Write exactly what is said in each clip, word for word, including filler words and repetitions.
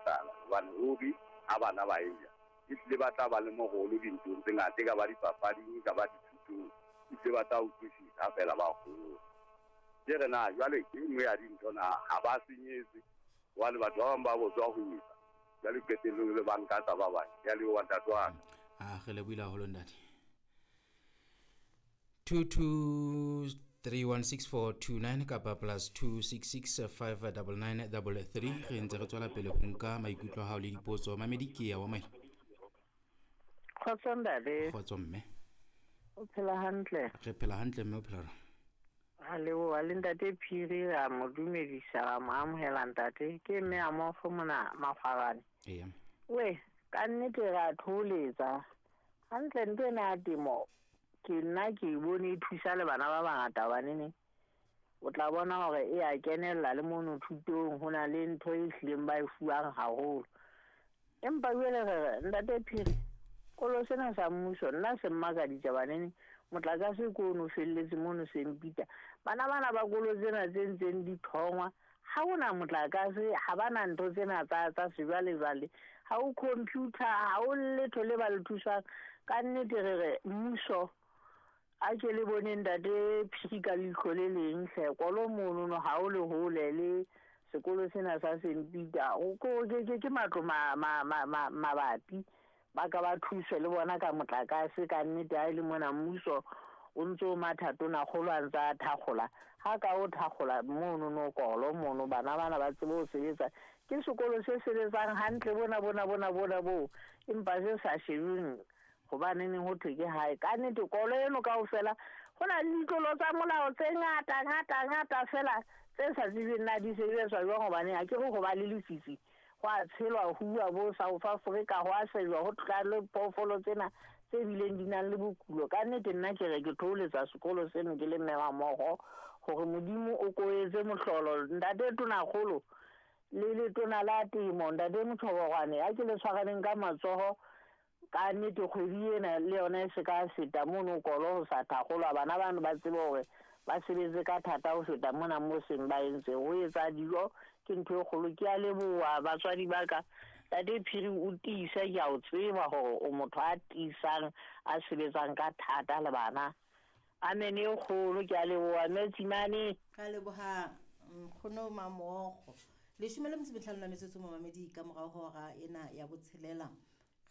tlala hobane ruri ha bana ba eja ehlile ba tla ba le morolo dinthong tse ngata, e ka ba dipapading, e ka ba dithutong, ehlile ba tla utlwisisa ha fela ba hola. Ke re na jwale ke e nngwe ya dintho na ha ba senyetse hobane batho ba bang ba botswa ho etsa jwale qetellong le banka tsa ba bang. Ke a leboha ntate wa ka. Ah, re lebohile haholo ntate. two two three one six four two nine kapa plus two six six five double nine double three. Re ntse re tswela pele ho nka maikutlo a hao le dipotso. Mamedi ke ya wa maele. Kgotso ntate. Kgotso mme. O phela hantle? Re phela hantle mme, o phela jwang? A leboha le ntate Phiri, ra mo dumedisa, ra mo amohela ntate. Ke mme a mo fumana Makgwarane. Eya. We, ka nnete ra tholetsa. Hantle ntho ena ya temo, ke nna ke e bone e thusa le bana ba bangata hobaneneng. O tla bona hore e a kenella le mono thutong, ho na le ntho e hlileng ba e fuwang haholo. Empa jwale re re, ntate Phiri, kolo sena sa mmuso nna se mmakaditse baneneng. Motlakase ko ono felletse mono Sempita. Bana bana ba kolo tsena tse ntseng di thongwa, ha hona motlakase, ha bana ntho tsena tsa, tsa sejwalejwale, ha o computer, ha o letho le ba le thusang. Ka nnete re re mmuso a ke le bone ntate Phiri ka leihlo le leng hle, kolo mono no ha o le hole le sekolo sena sa Sempita. O ko ke, ke, ke matlo ma, ma, ma, ma, mabapi. Ba ka ba thuswe le bona ka motlakase. Ka nnete ha e le mona mmuso o ntso matha tona kgolo a ntsa thakgola. Ha ka o thakgola mono no kolo mono, bana bana ba tsebe ho sebetsa. Ke sekolo se sebetsang hantle bona, bona, bona, bona bo, empa se sa shebeng hobaneng ho thwe ke hae. Ka nnete kolo eno kaofela ho na le ditlolo tsa molao tse ngata, ngata, ngata fela tse sa tsebeng na di sebetswa jwang, hobane ha ke re ho ba le lefifi, ho a tshelwa ho bua bo South Africa, ho a shejwa ho tla le phoofolo tsena tse bileng di nang le bokulo. Ka nnete nna ke re ke thoholetsa sekolo seno ke le mme wa mmoho hore Modimo o ko etse mohlolo. Ntate Tonakgolo le letona la temo, ntate Motshobogwane, a ke le tshwaraneng ka matsoho. Ka nnete kgwedi ena le yona e se ka feta mono kolo ho sa thakgolwa, bana bano ba tsebe hore ba sebetse ka thata ho feta mona mo seng ba entse. Ho etsa dijo ke ntho e kgolo. Ke a leboha batswadi ba ka. Ntate Phiri o tiise, ke a o tseba hore o motho a tiisang, a sebetsang ka thata le bana. Amen e kgolo, ke a leboha Metsimane. Ka leboha nkgono Mamogo. Leshome le metso e mehlano la metsotso momamedi ka morao ho hora ena ya botshelela.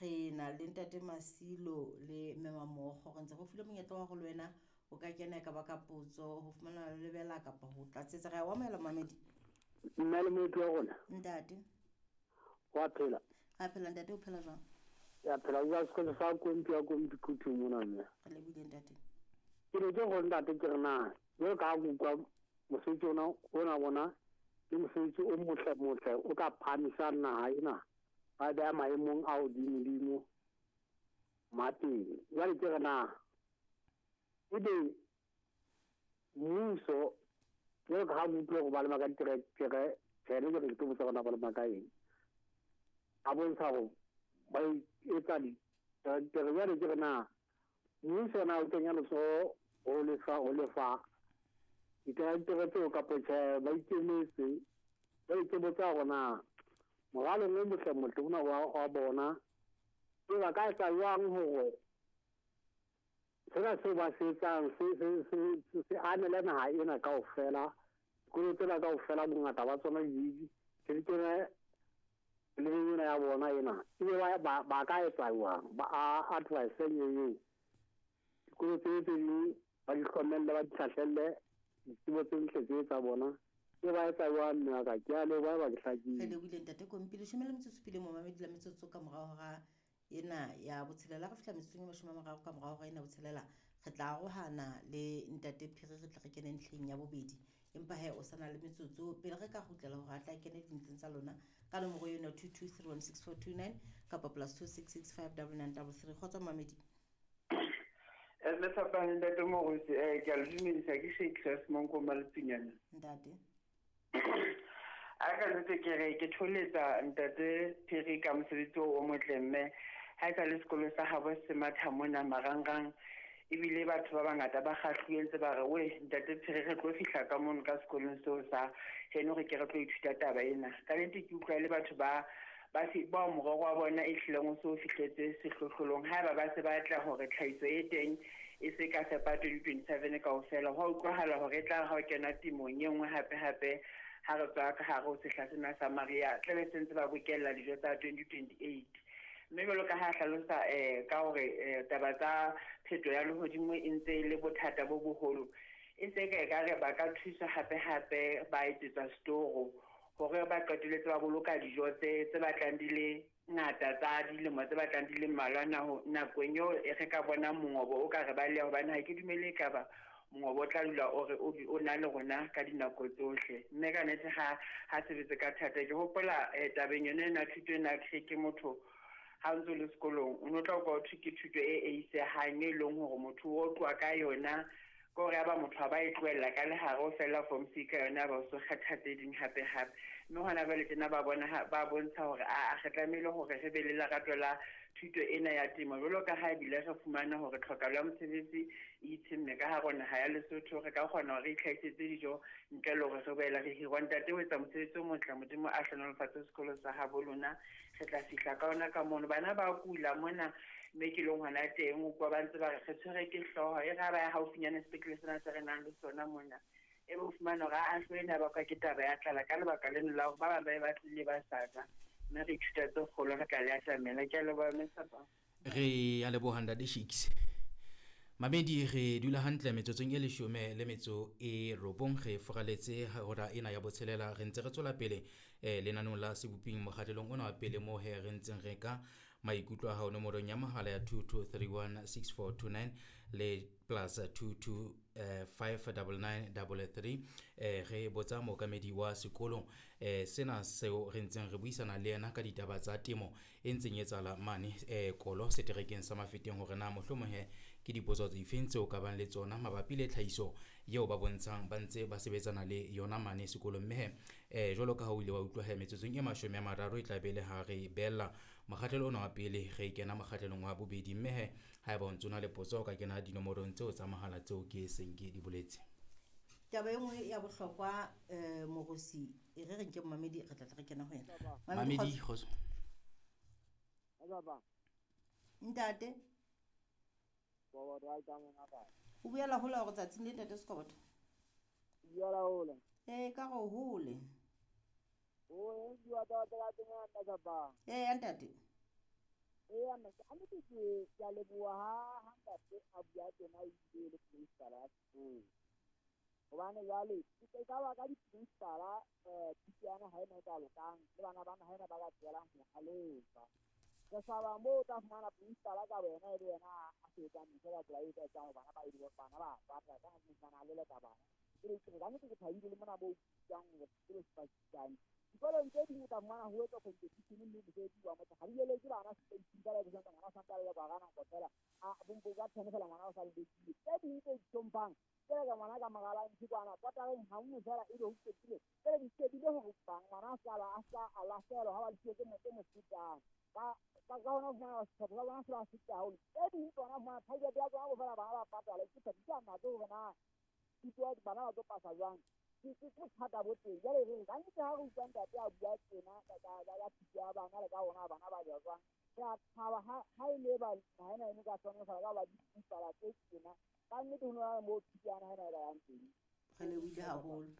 Re na le ntate Masilo le mme Mamogo, re ntse go file monyetla wa go le wena o ka kena ka baka potso ho fumana lebela kapa ho tlatsetsa. Re a o amohela momamedi. Mme le motho wa rona. Ntate. Wa phela. Ra phela ntate, o phela jwang? Ya phela, o sekolo sa kompi ya kompi kutu mona mme. Re lebohile ntate. Ke ne ke go ntate ke re na, jwalo ka ha ke utlwa mosebetsi ona, ona bona ke mosebetsi o motle motle o ka phahamisang naha ena, ba beha maemong a hodimodimo mateng. Jwale ke re na ebe mmuso jwalo ka ha ke utlwa hore ba lema ka diterekere, tjhe, ne ke re ke tlo botsa hore na ba lema ka eng. A bontsha hore ba etsa diterekere. Jwale ke re na mmuso na o kenya letsoho ho lefa, ho lefa diterekere tseo kapa tjhe, ba ikemetse. Jwale ke botsa hore na moralong o motle motle ona wa, wa bona e ba ka etsa jwang hore sena seo ba se etsang se, se, se, se, se amele naha ena kaofela, dikolo tsena kaofela bongata ba tsona di, di di kene le ena ya bona ena. Ebe ba, ba, ba ka etsa jwang? Ba a advice eo. Dikolo tse tse ding ba di hlokomelle, ba di hlahlelle ditsebo tse ntle tse tsa bona. Ke ba etsa jwang mme wa ka? Ke a leboha, ba ke hlakile. Re lebohile ntate Kompi. Leshome le metso e supileng momamedi la metsotso ka morao hora ena ya botshelela. Re fihla metsotsong e mashome a mararo ka morao hora ena botshelela, re tla arohana le ntate Phiri, re tla re kene ntlheng ya bobedi. Empa he o sa na le metsotso pele re ka kgutlela hore a tla kene dintlheng tsa lona ka nomoro eno two two three one six four two nine kapa plus two six six five double nine double three. Kgotso momamedi. Eh, le fapane ntate Moruti, eh, ke a le dumedisa, ke Shakespeare Monko Malepinyana. Ntate. A ka nnete ke re ke tholetsa ntate Phiri ka mosebetsi o motle mme ha e sa le sekolo sa habo se matha mona marangrang, ebile batho ba bangata ba kgahluwe ntse ba re we ntate Phiri re tlo fihla ka mono ka sekolong seo sa heno re ke re tlo ithuta taba ena. Ka nnete ke utlwa le batho ba ba se ba morero wa bona e hlileng o so fihletse sehlohlolong. Haeba ba se batla hore tlhahiso e teng e se ka fepa twenty twenty-seven kaofela, ho utlwahala hore e tla ha o kena temong e nngwe hape hape ha re tswa ka hare ho sehla sena sa mariha, tlabe se ntse ba bokella dijo tsa twenty twenty-eight. Mme jwalo ka ha hlalosa eh ka hore taba tsa pheto ya lehodimo e ntse e le bothata bo boholo, e se ka ekare ba ka thusa hape hape ba etsetswa setoro hore ba qetelletse ba boloka dijo tse tse batlang di le ngata tsa dilemo tse batlang di le mmalwa nakong eo e re ka bona mongobo o ka re ba leya, hobane ha ke dumele ekaba mongobo o tla dula o re o na le rona ka dinako tsohle. Mme ka nnete ha ha sebetse ka thata. Ke hopola tabeng yona ena thuto ena ke motho ha o ntso le sekolong o no tla utlwa ho thwe ke thuto e eisehang e leng hore motho o tloha ka yona ke hore ya ba motho ha ba e tlohella ka lehare o fella form C ka yona ba o so kgetha tse ding hape hape. Mme hona jwale tjena ba bona ba bontsha hore a re tlamehile hore re be le lerato la thuto ena ya temo, jwalo ka ha ebile re fumana hore tlhokahalo ya mosebetsi e itshemme ka hare ho naha ya Lesotho, re ka kgona hore re itlhahisetse dijo ntle le hore re boele re hirwa. Ntate o etsa mosebetsi o motle, Modimo a hlohonolofatse sekolo sa habo lona, re tla fihla ka ona ka mono. Bana ba kula mona mme ke leng hona teng o kwa ba ntse ba re re tshwere ke hlooho e re ha ba ya haufinyane sepetlele sena se re nang le sona mona, e be o fumana hore a hlooho ena bakwa ke taba ya tlala ka lebaka leno la hore ba bang ba e batlile ba sa ja. Mme re ithuta tse kgolo re tla le atamela. Ke a leboha mme Sapa. Re a leboha ntate Shakes. Mamedi re dula hantle metsotsong e leshome le metso e robong, re furaletse hora ena ya botshelela, re ntse re tswela pele eh lenanong la seboping mokgahlelong ona wa pele mo he re ntseng re ka maikutlo a hao nomorong ya mohala ya two two three one six four two nine le plus two two five double nine double three. Eh re botsa mookamedi wa sekolo eh sena seo re ntseng re buisana le yena ka ditaba tsa temo e ntseng e etsahala mane eh Kolo seterekeng sa Mafeteng, hore na mohlomong he ke dipotso tse feng tseo ka bang le tsona mabapi le tlhahiso eo ba bontshang ba ntse ba sebetsana le yona mane sekolong. Mme he eh jwalo ka ha o ile wa utlwa he metsotsong e mashome a mararo e tla be le ha re bella mokgahlelo ona wa pele re kena mokgahlelong wa bobedi. Mme he haeba o ntse o na le potso o ka kena dinomorong tseo tsa mohala tseo ke seng ke di boletse. Taba e nngwe ya bohlokwa eh Morosi e re re nke momamedi re tla tla re kena ho yena. Mamedi kgotso. Ntate o buela hola hore tsatsing le ntate Sekoboto? Buela hola. Eh ka go hole. O bua ka tsa teng ntate ba. Eh ntate. Eh ntate a ntse ke ke a leboha ha ha ntate a bua tena e ile le principal ya sekolo. Hobane jwale ke ka ba ka di-principal eh thuto ya naha ena e ka lokang le bana ba naha ena ba ka tswelang ho halefa. Re shaba moo o tla fumana principal ka wena e le yena a sebetsang ntho ka tsela e ka etsang hore bana ba e bana ba batla ka nna a leleka bana. Ke re ka nnete ke thabile le mona moo utlwang hore sekolo se pakisane. Dikolong tse ding o tla fumana ho etswa competition mme mosebetsi wa motho ha di eletse bana sepeising ka la ngwana o santse a lelekwa ka nako fela a bompo ka ten fela ngwana o sa lelekile. Tse ding tse hlomphang tse ka ngwana ka mogala ntse kwana kotareng ha nngwe fela ebe ho qetile. Tsele di shebile hore ngwana a sa a sa a lahlehelwa ha ba le tse mo tse mo fetang. Ka ka ka hona fumana sehlopha sa bona se ba feta haholo. Tse ding tsona fumana target ya tsona fela bana ba patala ke thabisa nako hore na thuto ya bana ba tlo pasa jwang. Ke ke bothata bo teng. Jwale re ka nnete ha re utlwa ntate a bua tjena ka ka ya thuto ya bana le ka hona bana ba ja jwang. Re a thaba ha ha e le ba naha ena e ka hlohonolofala ka ba di-principal tse tjena. Ka nnete ho na le moo thuto ya naha ena e ka yang teng. Re lebohile haholo.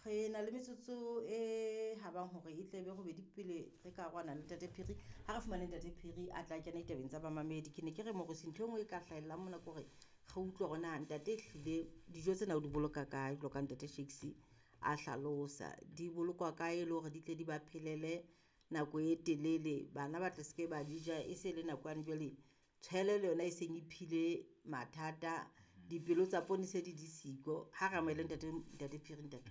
Re na le metsotso e habang hore e tle be robedi pele re ka rwana le ntate Phiri. Ha re fumane ntate Phiri a tla kena ditabeng tsa bamamedi. Ke ne ke re Morosi ntho e nngwe e ka hlahellang mona ke hore re utlwe hore na ntate ehlile dijo tsena o di boloka kae jwalo ka ntate Shakes a hlalosa. Di bolokwa kae e le hore di tle di ba phelele nako e telele, bana ba tle se ke ba di ja e se le nako yane jwale tshwele le yona e seng e phile mathata, dipelo tsa poone se di di siko. Ha re amohele ntate ntate Phiri ntate.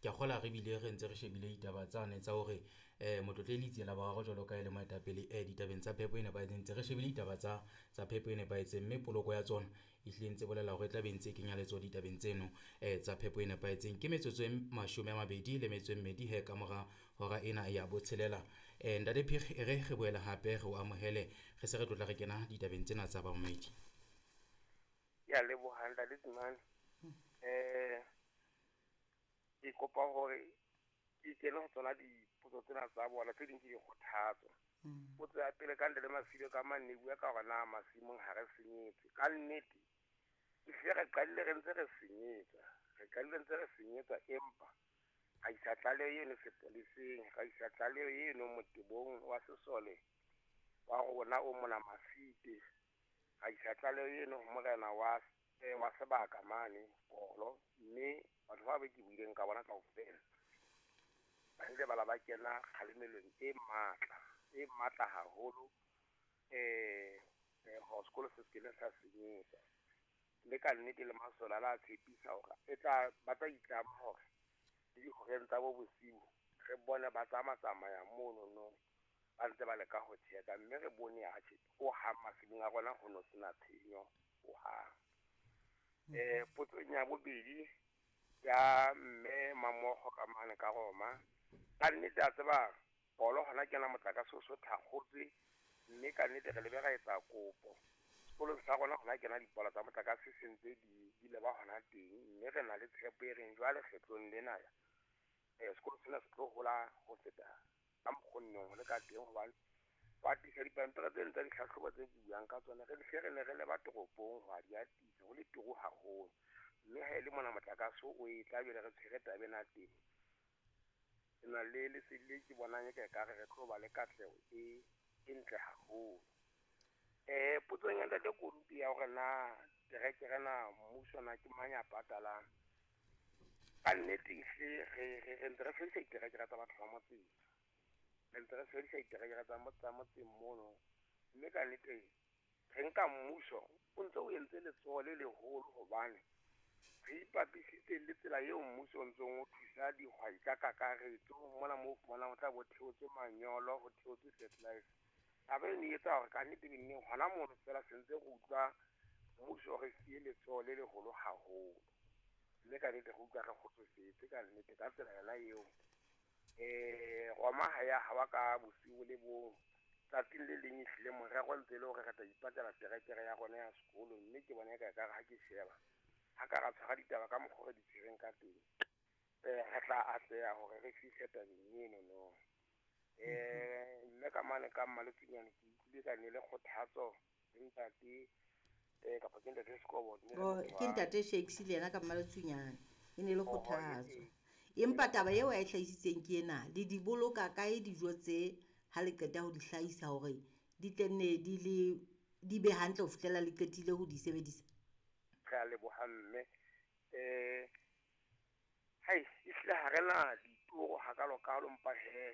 Ke a kgola re bile re ntse re shebile ditaba tsane tsa hore eh motlotle Litsela boraro jwalo ka e le moetapele eh ditabeng tsa phepo e nepahetseng, ntse re shebile ditaba tsa tsa phepo e nepahetseng mme poloko ya tsona ehlile ntse bolela hore e tla be ntse e kenya letsoho ditabeng tseno eh tsa phepo e nepahetseng. Ke metsotso e mashome a mabedi le metso e mmedi he ka mora hora ena ya botshelela. Eh ntate Phiri e re re boele hape re o amohele re se re tlotla re kena ditabeng tsena tsa bamamedi. Ke a leboha ntate Tsimane. Eh ke kopa hore ke kene ho tsona di Potso tsena tsa bona tse ding ke dikgothatso. Potso ya pele ka ntle le Masibe ka mane bua ka hore na masimong ha re senyetse. Ka nnete ehlile re qadile re ntse re senyetsa. Re qadile ntse re senyetsa empa ra isa tlaleho eno sepoleseng, ra isa tlaleho eno motebong wa sesole wa rona o mona Masite. Ra isa tlaleho eno ho morena wa wa sebaka mane Kolo, mme batho ba be ke buileng ka bona kaofela ba ile ba la ba kena kgalemelong e matla, e matla haholo eh hore sekolo se se ke sa senyetsa. Le ka nnete le masole a la tshepisa hore e tla ba tla itlama hore le dihoreng tsa bo bosiu re bone ba tsamatsamaya mono no ba ntse ba leka ho tjheka, mme re bone atjhe hohang masimong a rona ho no sena tshenyo hohang. Eh potsong ya bobedi ya mme Mamogo ka mane ka Roma, ka nnete a tseba Kolo hona kena motlakase o so thakgotswe, mme ka nnete re lebe ra etsa kopo sekolong sa rona hona kena dipola tsa motlakase se ntse di di leba hona teng, mme re na le tshepo e reng jwale kgetlong lena eh sekolo sena se tlo hola ho feta ka mokgonneng ho le ka teng, hobane ba tlisa dipampiri tseno tsa ditlhahlobo tse ke buang ka tsona re hle re ne re leba toropong ho a di atisa ho le turu haholo, mme ha e le mona motlakase o e tla jwale re tshwere taba ena teng. Ke na le lesedi le ke bonang eka ekare re tlo ba le katleho e e ntle haholo. Eh potsong ya ntate Korupi ya hore na terekere na mmuso na ke mang ya patalang, ka nnete ehlile re re re ntse re sebedisa diterekere tsa batho ba motseng, re ntse re sebedisa diterekere tsa tsa motseng mono, mme ka nnete re nka mmuso o ntse o entse letsoho le leholo hobane re ipapisitse le tsela eo mmuso o ntsong o thusa dihwai ka kakaretso mona moo fumanang ho tla bo theotswe manyolo, ho theotswe fertilizer. Taba eno e etsa hore ka nnete neng hona mono fela se ntse re utlwa mmuso re siye letsoho le leholo haholo, mme ka nnete re utlwa re kgotsofetse ka nnete ka tsela yona eo. Eh Roma ha ya hawa ka bosiu le bong, tsatsing le leng ehlile morero ntse le hore re tla ipatlela terekere ya rona ya sekolo, mme ke bona eka ekare ha ke sheba ha ka ra tshwara ditaba ka mokgwa re di tshwereng ka teng eh re tla atleha hore re fihle tabeng eno no. Eh mme ka mane ka Mmaletsunyane ke utlwile ka ne le kgothatso le ntate eh kapa ke ntate Sekobo ke ntate Shakes le yena ka Mmaletsunyane e ne le kgothatso. Empa taba eo a e hlahisitseng ke ena, le di boloka kae dijo tse ha le qeta ho di hlahisa hore di tle nne di le di be hantle ho fihlela le qetile ho di sebedisa? Re a leboha mme. Eh hai ehlile ha re na ditoro hakalokalo, empa he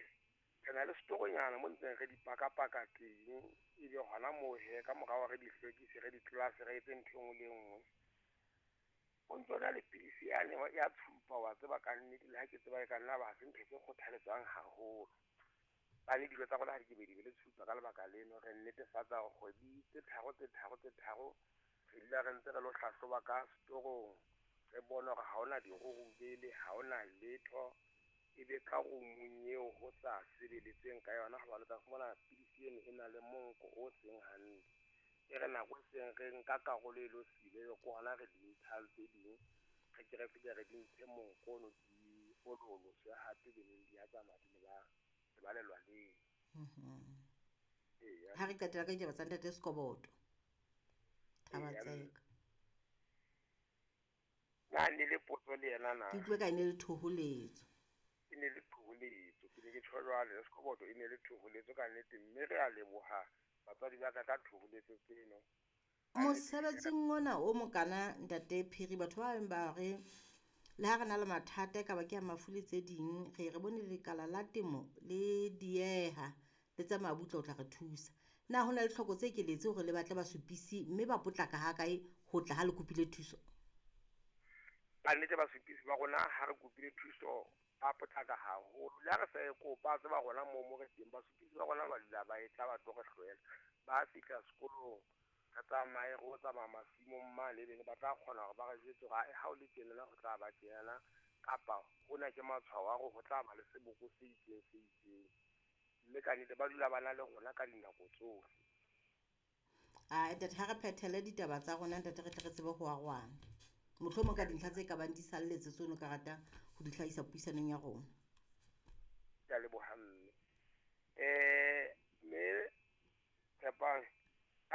re na le setoronyana mo ntseng re di pakapaka teng, ebe hona moo he ka morao re di hlwekise, re di tlase, re etse ntho e nngwe le e nngwe. O ntso na le pidisi yane ya tshupa wa tseba ka nnete, le ha ke tseba e ka nna ba se ntho tse kgothaletswang haholo. Bane dijo tsa rona ha di ke be di be le tshupa ka lebaka leno, re netefatsa hore kgwedi tse tharo tse tharo tse tharo re dula re ntse re lo hlahloba ka setorong, re bone hore ha hona dirurubele, ha hona letho, ebe ka roomong eo ho sa sebeletsweng ka yona, hobane o tla fumana pidisi eno e na le monko o seng hantle. E re nako e seng re nka karolo e lo sile ke hona re di ntshang tse ding, re ke re fihle re di ntshe monko ono di ololoswe hape beneng di a tsamaya di leba le ba lelwaleng. Ha re qetela ka ditaba tsa ntate Sekoboto, Thabatseka. Na ne le potso le yena na? Ke utlwe ka e ne le thoholetso. E ne le thoholetso, ke ne ke tjho jwale Sekoboto e ne le thoholetso ka nnete, mme re a leboha batswadi ba ka ka thoholetso tseno. Mosebetsing ona o mokana ntate Phiri, batho ba bang ba re le ha re na le mathata e ka ba ke a mafu le tse ding, re re bone lekala la temo le dieha le tsamaya butle ho tla re thusa. Na ho na le tlhoko tse keletse hore le batle basupisi mme ba potlaka ha kae ho tla ha le kopile thuso? Ka nnete basupisi ba rona ha re kopile thuso ba potlaka haholo, le ha re sa e kopa tseba rona moo mo re teng basupisi ba rona ba dula ba e tla ba tlo re hlwela, ba fihla sekolong re tsamaye re o tsamaya masimong mane bene ba tla kgona hore ba re jwetse hore ha o le tjenana ho tla ba tjenana, kapa hona ke matshwao a hore ho tla ba le seboko se itseng se itseng, mme ka nnete ba dula ba na le rona ka dinako tsohle. A ntate, ha re phethele ditaba tsa rona ntate, re tle re tsebe ho arohana. Mohlomong ka dintlha tse ka bang di salletse tseo ka rata ho di hlahisa puisanong ya rona. Ke a leboha.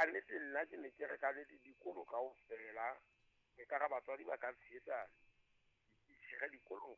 Ka nnete nna ke ne ke re ka nnete dikolo kaofela e ka re batswadi ba ka tshehetsa dititjhere dikolong